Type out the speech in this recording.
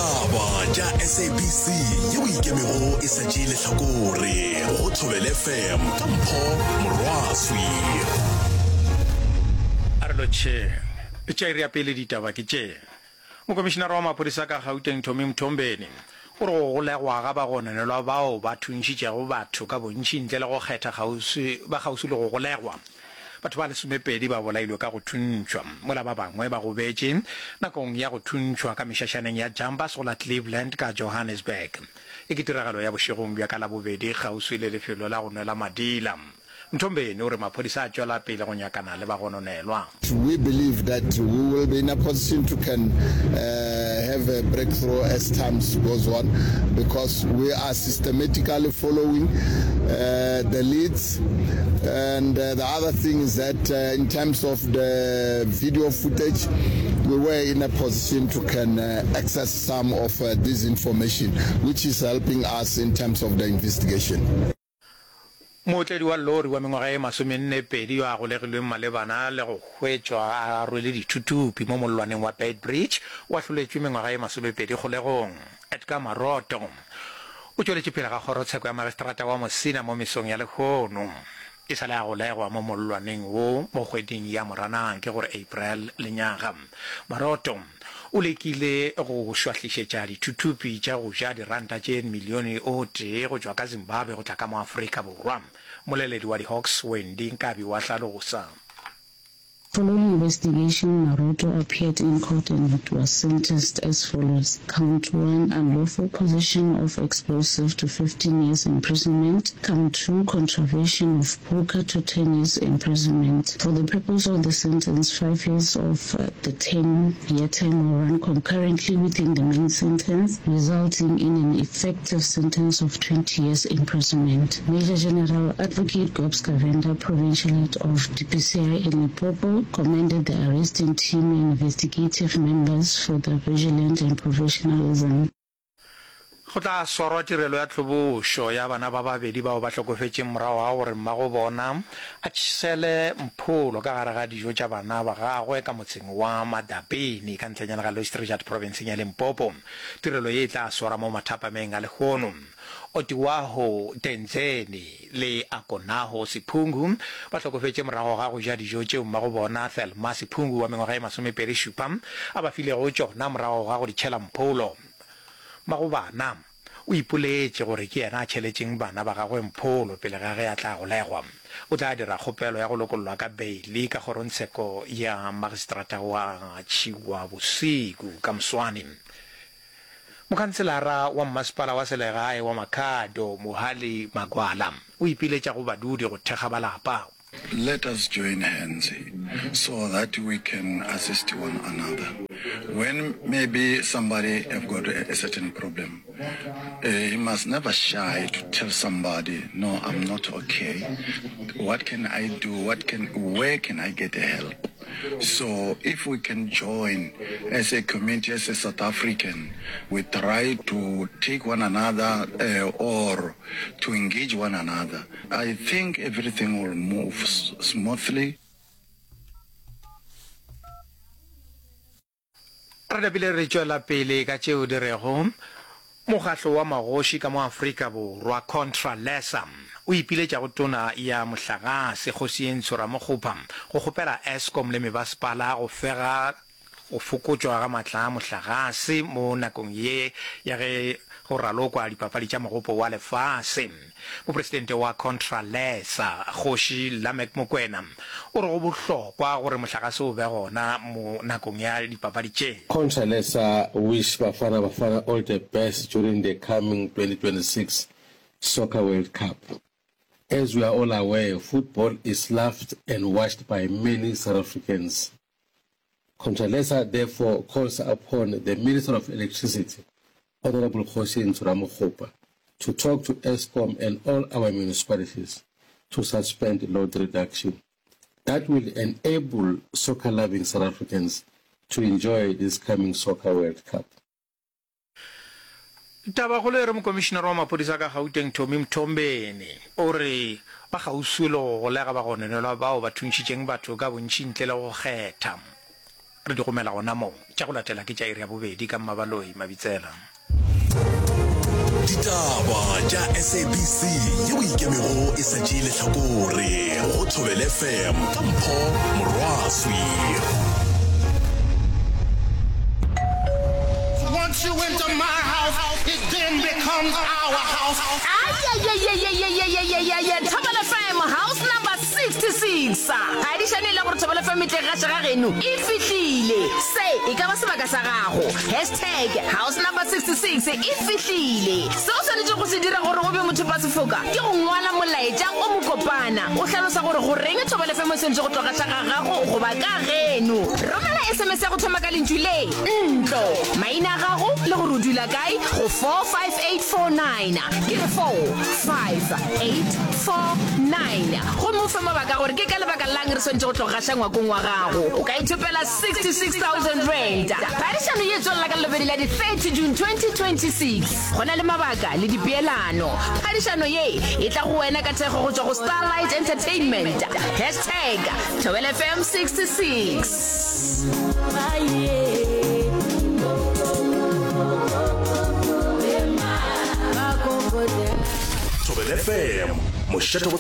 Ditaba tša SABC yeo e ikemego e sa tšee lehlakore go Thobela FM ka Mpho Morwaswi. A re lotšheng. Tša iri ya pele ditaba ke tše. Mokomišinara wa maphodisa ka Gauteng Tommy Mthombeni o re go golegwa ga bagononelwa bao ba thuntšhitšego batho ka bontši ntle le go kgetha kgauswi ba kgauswi le go golegwa. Batho ba lesomepedi ba bolailwe ka go thuntšhwa, mola ba bangwe ba gobetše nakong ya go thuntšhwa ka mešašaneng ya Jumpers go la Cleveland ka Johannesburg. Ye ke tiragalo ya bošegong bja ka Labobedi kgauswi le lefelo la go nwela madila. Mthombeni o re maphodisa a tšwela pele go nyakana le bagononelwa. We believe that we will be in a position to can have a breakthrough as times goes on because we are systematically following the leads and the other thing is that in terms of the video footage we were in a position to can access some of this information which is helping us in terms of the investigation. Mootledi wa lori wa mengwaga ye masomennepedi yo a golegilweng malebana le go hwetšwa a rwele dithuthupi mo mollwaneng wa Beitbridge o ahloletšwe mengwaga ye masomepedi kgolegong. Edgar Maroto o tšweletše pele ga kgorotsheko ya magistrata wa Musina mo mesong ya lehono. E sa le a golegwa mo mollwaneng wo mo kgweding ya Moranang, ke gore April, lenyaga. Maroto o lekile go šwahlišetša dithuthupi tša go ja diranta tše milione o tee go tšwa ka Zimbabwe go tla ka mo Afrika Borwa. Mmoleledi wa di-Hawks, Wendy Nkabi wa hlalosa. Following investigation, Maroto appeared in court and was sentenced as follows, Count 1, unlawful possession of explosive to 15 years imprisonment, Count 2, contravention of POCA to 10 years imprisonment. For the purpose of the sentence, 5 years of the 10-year term will run concurrently within the main sentence, resulting in an effective sentence of 20 years imprisonment. Major General Advocate Gobs Govender, Provincial Head of DPCI in Limpopo, commended the arresting team and investigative members for their vigilance and professionalism. Go tla swarwa tirelo ya tlhobošo ya bana ba babedi bao ba hlokofetšeng morago ga gore mmago bona a tšhele mpholo ka gare ga dijo tša bana ba gagwe ka motseng wa Madabeni ka ntlenyana ga Louis-Trichardt profenseng ya Limpopo. Tirelo ye e tla swarwa mo mathapameng a lehono. Otiwaho Tenzeni le Akonaho Siphungu ba hlokofetše morago ga go ja dijo tšeo mmago bona Thelma Siphungu wa mengwaga e masomepedi-šupa a ba filego tšona morago ga go di tšhela mpholo. Mmagobana o ipoletše gore ke yena a tšheletšeng bana ba gagwe mpholo pele ga ge a tla golegwa. O tla dira kgopelo ya go lokollwa ka beili ka kgorongtsheko ya magistrata wa Tšhiwabosiku ka moswane. Mokhanselara wa mmasepala wa selegae wa Makhado, Mohale Magwala, o ipiletša go badudi go thekga ba lapa. Let us join hands so that we can assist one another when maybe somebody have got a certain problem he must never shy to tell somebody no I'm not okay what can I do what can where can I get help so if we can join as a community as a South African we try to take one another or to engage one another I think everything will move smoothly. Re napile re tšwela pele ka tšeo di rego Mokgatlo wa Magoši ka mo Afrika Borwa, Contralesa, o ipiletša go Tona ya Mohlagase, Kgosientsho Ramokgopa, go kgopela Eskom le mebasepala go fega Go fokotšwa ga matla a mohlagase mo nakong ye ya ge go ralokwa dipapadi tša Mogopo wa Lefase. Mopresidente wa Contralesa, Kgoši Lameck Mokwena, o re go bohlokwa gore mohlagase o be gona mo nakong ya dipapadi tše. Contralesa wish Bafana Bafana all the best during the coming 2026 Soccer World Cup. As we are all aware, football is loved and watched by many South Africans. Contralesa therefore calls upon the Minister of Electricity, Honourable Kgosi Ntsho Ramokgopa, to talk to Eskom and all our municipalities to suspend load reduction. That will enable soccer-loving South Africans to enjoy this coming Soccer World Cup. Tabakgolo e re Mokomišinara wa maphodisa ka Gauteng Tommy Mthombeni o re ba kgauswi le go golega bagononelwa bao ba thuntšhitšeng batho ka bontši ntle le go kgetha. Re di gomela gona mo. Tša go latela ke tša iri ya bobedi ka Mmabaloi Mabitsela. Ditaba tša SABC yeo e ikemego e sa tšee lehlakore go Thobela FM ka Mpho Morwaswi. Once you enter my house, it then becomes our house. Ayayayayayayayayaya Thobela FM house number 66 Phadišano e le gore Thobela FM e tle gaše ga geno e fihlile. Se e ka ba sebaka sa gago. Hashtag house number 66 e fihlile. Se o swanetšego go se dira gore o be mothopasefoka ke go ngwala molaetša o mokopana o hlalosa gore goreng Thobela FM e swanetše go tlo gaša ga gago goba ka geno. Romela SMS ya go thoma ka lentšu le, ntlo, maina a gago le gore o dula kae go 45849. Ke re 45849. Gomme o fe mabaka a gore ke ka lebaka la'ng re swanetše go tlo gaša ngwakong wa gago. O ka ithopela R66,000. Phadišano ye e tswelela ka Lelobedi la di 30 June 2026. Go na le mabaka le dipeelano. Phadišano ye e tla go wena ka thekgo go tšwa go Starlight Entertainment. Hashtag Thobela FM 66. Thobela FM, mošate wa.